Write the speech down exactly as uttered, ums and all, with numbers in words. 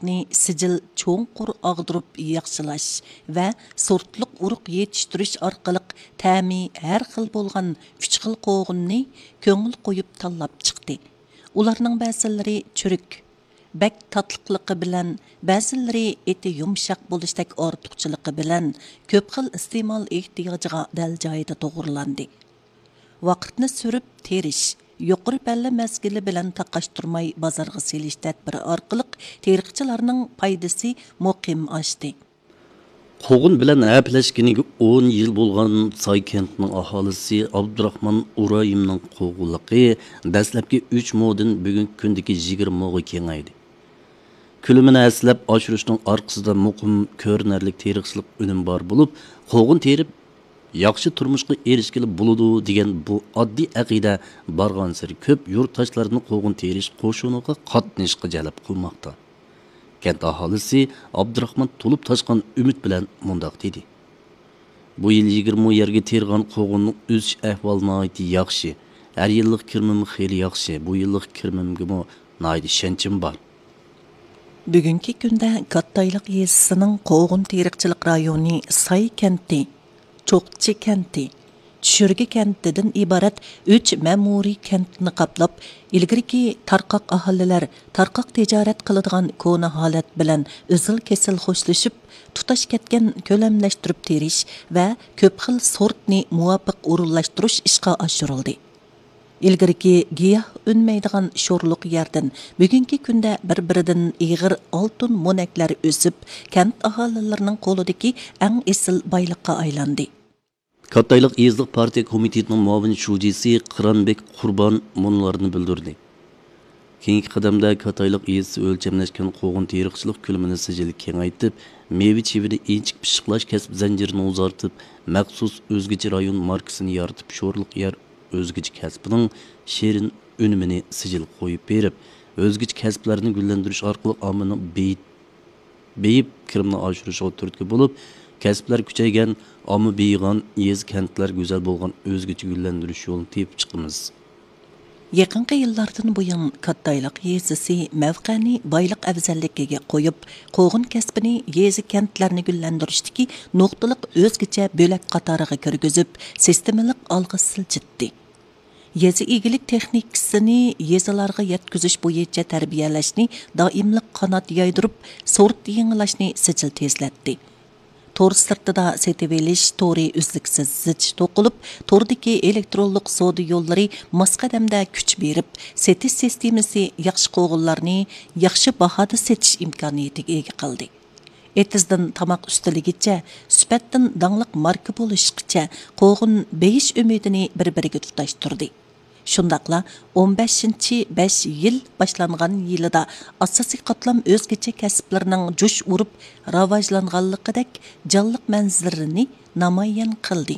ئۇرۇقنى سىجىل چوڭقۇر ئاغدۇرۇپ ياخشىلاش ۋە سورتلۇق ئۇرۇق يېتىشتۈرۈش ئارقىلىق تەمى ھەر خىل بولغان ئۈچ خىل قوغۇننى كۆڭۈل قويۇپ تاللاپ چىقتى. ئۇلارنىڭ بەزىلىرى چۈرۈك، بەك تاتلىقلىقى بىلەن، بەزىلىرى ئېتى يۇمشاق بولۇشتەك ئارتۇقچىلىقى بىلەن كۆپ خىل ئىستېمال ئېھتىياجىغا دەل جايىدا توغرىلاندى. ۋاقىتنى سۈرۈپ تېرىش، يۇقىرى پەللە مەزگىلى بىلەن تاقاشتۇرماي بازارغا سېلىش تەدبىرى ئارقىلىق تېرىقچىلارنىڭ پايدىسى مۇقىم ئاشتى. قوغۇن بىلەن ھەپىلەشكىنىگە ئون يىل بولغان ساي كەنتىنىڭ ئاھالىسى ئابدۇراخمان ئۇرايىمنىڭ قوغۇنلۇقى دەسلەپكى ئۈچ مودىن بۈگۈنكى كۈندىكى يىگىرمە موغا كېڭەيدى. كۆلىمىنى ھەسسىلەپ ئاشۇرۇشنىڭ ئارقىسىدا مۇقىم كۆرۈنەرلىك تېرىقچىلىق ئۈنۈمى بار بولۇپ، قوغۇن تېرىپ ياخشى تۇرمۇشقا ئېرىشكىلى بولىدۇ دېگەن بۇ ئاددىي ئەقىدە بارغانسېرى كۆپ يۇرتداشلارنى قوغۇن تېرىش قوشۇنىغا قاتنىشىشقا جەلپ قىلماقتا. كەنت ئاھالىسى ئابدۇراخمان تولۇپ تاشقان ئۈمىد بىلەن مۇنداق دېدى: بۇ يىل يىگىرمە يەرگە تېرىغان قوغۇننىڭ ئۆسۈش ئەھۋالى ناھايىتى ياخشى، ھەر يىللىق كىرىمىم خېلى ياخشى، بۇ يىللىق كىرىمىمگىمۇ ناھايىتى ئىشەنچىم بار. بۈگۈنكى كۈندە كاتتايلىق يېزىسىنىڭ قوغۇن تېرىقچىلىق رايونى ساي كەنتى، چوقچى كەنتى، چۈشۈرگە كەنتىدىن ئىبارەت ئۈچ مەمۇرىي كەنتنى قاپلاپ، ئىلگىرىكى تارقاق ئاھالىلەر تارقاق تىجارەت قىلىدىغان كونا ھالەت بىلەن ئۈزۈل كېسىل خوشلىشىپ، تۇتاش كەتكەن كۆلەملەشتۈرۈپ تېرىش ۋە كۆپ خىل سورتنى مۇۋاپىق ئورۇنلاشتۇرۇش ئىشقا ئاشۇرۇلدى. ئىلگىرىكى گىياھ ئۈنمەيدىغان شورلۇق يەردىن بۈگۈنكى كۈندە بىر-بىرىدىن ئېغىر ئالتۇن مونەكلەر ئۆسۈپ، كەنت ئاھالىلىرىنىڭ قولىدىكى ئەڭ ئېسىل بايلىققا ئايلاندى. كاتتايلىق يېزىلىق پارتىيە كومىتېتىنىڭ مۇئاۋىن شۇجىسى قىرانبېك قۇربان مۇنۇلارنى بىلدۈردى. كېيىنكى قەدەمدە كاتتايلىق يېزىسى ئۆلچەملەشكەن قوغۇن تېرىقچىلىق كۆلىمىنى سىجىل كېڭەيتىپ، مېۋە-چېۋىنى ئىنچىكە پىششىقلاش كەسىپ زەنجىرىنى ئۇزارتىپ، مەخسۇس ئۆزگىچە رايون ماركىسىنى يارىتىپ، شورلۇق يەر ئۆزگىچە كەسپىنىڭ شېرىن ئۈنۈمىنى سىجىل قويۇپ بېرىپ، ئۆزگىچە كەسىپلەرنى گۈللەندۈرۈش ئارقىلىق ئاممىنىڭ بېيىت-، بېيىپ، كىرىمىنى ئاشۇرۇشىغا تۈرتكە بولۇپ، كەسىپلەر كۈچەيگەن، ئامما بېيىغان، يېزا-كەنتلەر گۈزەل بولغان ئۆزگىچە گۈللەندۈرۈش يولىنى تېپىپ چىقىمىز. يېقىنقى يىللاردىن بۇيان، كاتتايلىق يېزىسى مەۋقەنى بايلىق ئەۋزەللىكىگە قويۇپ، قوغۇن كەسپىنى يېزا-كەنتلەرنى گۈللەندۈرۈشتىكى نۇقتىلىق ئۆزگىچە بۆلەك قاتارىغا كىرگۈزۈپ، سىستېمىلىق ئالغا سىلجىتتى. يېزا ئىگىلىك تېخنىكىسىنى يېزىلارغا يەتكۈزۈش بويىچە تەربىيەلەشنى دائىملىق قانات يايدۇرۇپ، سورت يېڭىلاشنى سىجىل تېزلەتتى. تور سىرتىدا سېتىۋېلىش تورى ئۈزلۈكسىز زىچ توقۇلۇپ، توردىكى ئېلېكترونلۇق سودا يوللىرى ماس قەدەمدە كۈچ بېرىپ، سېتىش سىستېمىسى ياخشى قوغۇنلارنى ياخشى باھادا سېتىش ئىمكانىيىتىگە ئىگە قىلدى. ئېتىزدىن تاماق ئۈستىلىگىچە، سۈپەتتىن داڭلىق ماركا بولۇشقىچە قوغۇن بېيىش ئۈمىدىنى بىر-بىرىگە تۇتاشتۇردى. شۇنداقلا ئون بەشىنچى بەش يىل باشلانغان يىلىدا ئاساسىي قاتلام ئۆزگىچە كەسىپلىرىنىڭ جۇش ئۇرۇپ راۋاجلانغانلىقىدەك جانلىق مەنزىرىنى نامايان قىلدى.